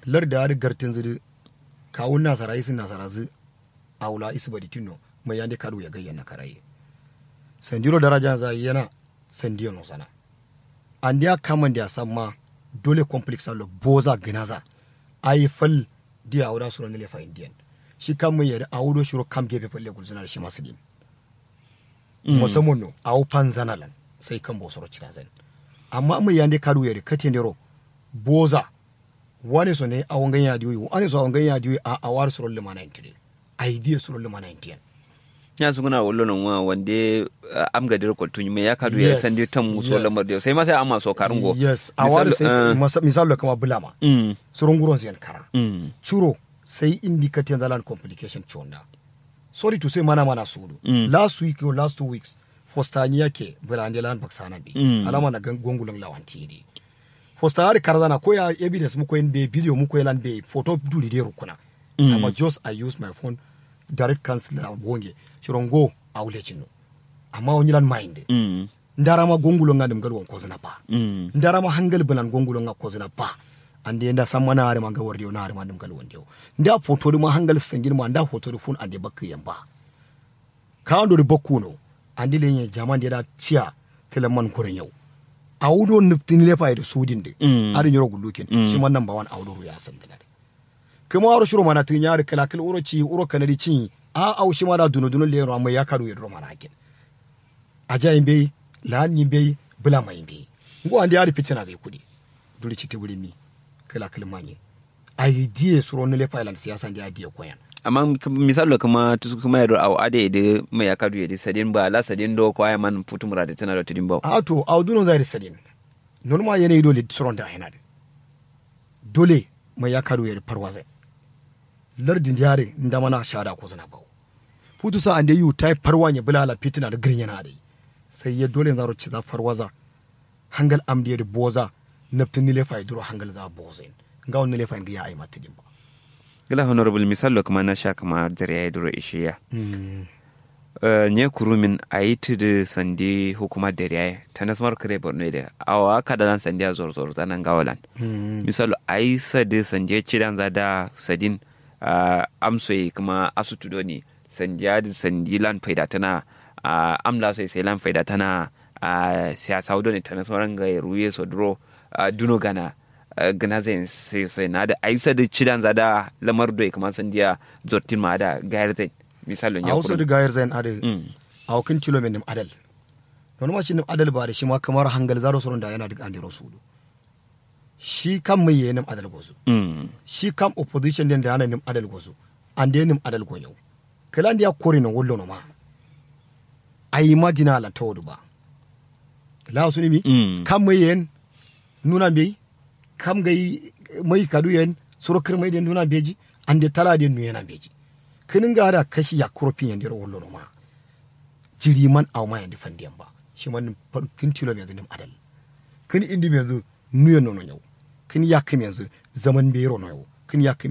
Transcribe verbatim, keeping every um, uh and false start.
Lardǝ adǝ gartǝnzǝ dǝ kawu nasara isǝ nasarazǝ. Awo la isǝ baditinno mai yande kaduwu ye gaiyen nakaraye. Sandiro darajanza yena sandiye nosana. Andeya kamande asamma dole complex allo boza gǝnaza. Ayi fal diye awo da suro nǝle fayin diyen. Shi kam mai yadǝ awo do shiro kam gefe falle gulzǝna dǝ shima sǝdin. Musamman no awo fanzana lan sai kambo suro cirazain. Amma mai yande kaduwu yadǝ katendero boza. Wane so ne awo ngai ya diwi wane so awo ngai ya diwi a awo adǝ suro lǝmana yen tǝdǝ. Ayi diye suro lǝmana yen tǝyen. Nya sukuna wallo no ngwa wande. Am gadero koltu nyime ya kadu ya sande tam so lamar diyo sai ma sai amma so karungo. Yes, awo adǝ sai misal lo kama bulama. Suro nguron ziyan kara. Curo sai indi katen zalan complication conda. Sorry to say mana mana sudu last week or last two weeks. Fosta nyi yake bula ande lan baksana bi alama na gongulon lawanti di. Fosta adǝ karzana ko ya evidence muko yen be video muko yen lan be photo duli de rukuna. Amma just I use my phone. Direct cancel na bonge. Ciro ngo awo lejin no. Amma wonyi lan mayinde. Ndarama gongulo nga nǝm ngal won kozǝna ba. Ndarama hangal bǝlan gongulo nga kozǝna ba. Ande nda samma na adǝ ma nga wardewo na adǝ ma nǝm ngal wondewo. Nda photo dǝ ma hangal sangin ma nda photo dǝ fun ande bakkǝ yen ba. Kawando dǝ bakkuno. Ande lenye jaman de da ciya. Tǝlamman koro nyau. Awo do nǝptǝ nǝlefa ye dǝ sudin dǝ. Adǝ nyiro gullukin shima namba wan awo do ruya sandǝna dǝ. Kǝma waro shiro mana tǝnya dǝ kǝlakǝl wuro ciyi wuro kanadi ciyi. A awo shima da duno duno leyero amma ya kadu ye duro mana hakkin. Aja yimbeyi. La'an yimbeyi. Bǝlama yimbeyi. Ngo ande adǝ fitina gai kude. Duri citti bǝrinni. Kǝlakǝl manye. Ayi diye suro nǝle fayilan siyasa nde adǝ ye koyan. Amma misallo kǝma tusku kǝma ye do awo adǝ ye dǝ mai ya kadu ye dǝ sadin ba la sadin do ko aya man futu murade tǝna do tǝdin bawo. A to awo duno nza ye dǝ sadin. Nonuma yanayi dole suron da yana dǝ. Dole mai ya kadu ye dǝ farwaza. Lardin diya dǝ ndamana shada kozǝna bawo. Futu sa ande yu tayi farwa nye bǝla ala fitina dǝ gǝrin yana adǝ. Sai ye dole nzaro ciza farwaza. Hangal amdiye dǝ boza. Nabtǝ nǝlefaye duro hangal za boza yen. Ngawo nǝlefayen gǝya aima tǝdin ba. Gǝla honorable misallo kǝma nasha kǝma dariyaye duro ishiya. Nye kurumin ayi tǝdǝ sandi hukuma dariyaye tanasmaro kǝre borno ye dǝ awowa kada lan sandiya zor zor zana ngawo lan. Misallo ayi sadǝ sandiya cidanza da sadin. Amsoye kǝma asutu doni sandiya dǝ sandi lan faidatǝna. Am lasoye sai lan faidatǝna. Siyasawu done tanasmaro ngaye ruye so duro. Duno gana gǝna zain sai na da aisa da cidan za da lamar doi kǝma sandiya zottin ma da gayar zain. Misalo nya awo so da gayar zain ada. Awo kǝn tilo me nǝm adal. Nonuma shi nǝm adal ba da shima kǝmaro hangal zaro soron da yana duk andero sudu. Shi kam mai ye nǝm adal gozu. Shi kam opposition den da yana nǝm adal gozu. Ande nǝm adal gonyau. Kǝla ndiya korino wallono ma. Aima dina lan tawodu ba. Lawo sunimi kam mai yen. Nuna mbeyi. Kam ngai mai kadu yen suro kǝrmai den nuna mbeji. Ande tala den nuyena mbeji. Kǝnin nga ada kashi yakkuro fin yandero wallono ma. Jiri man awo ma yandi fandiyan ba. Shiman kǝn tilo menzu nǝm adal. Kǝn indi menzu nuyen nono nyau. Kǝn yakkǝ menzu zaman mbeyiro noyo. Kǝn yakkǝ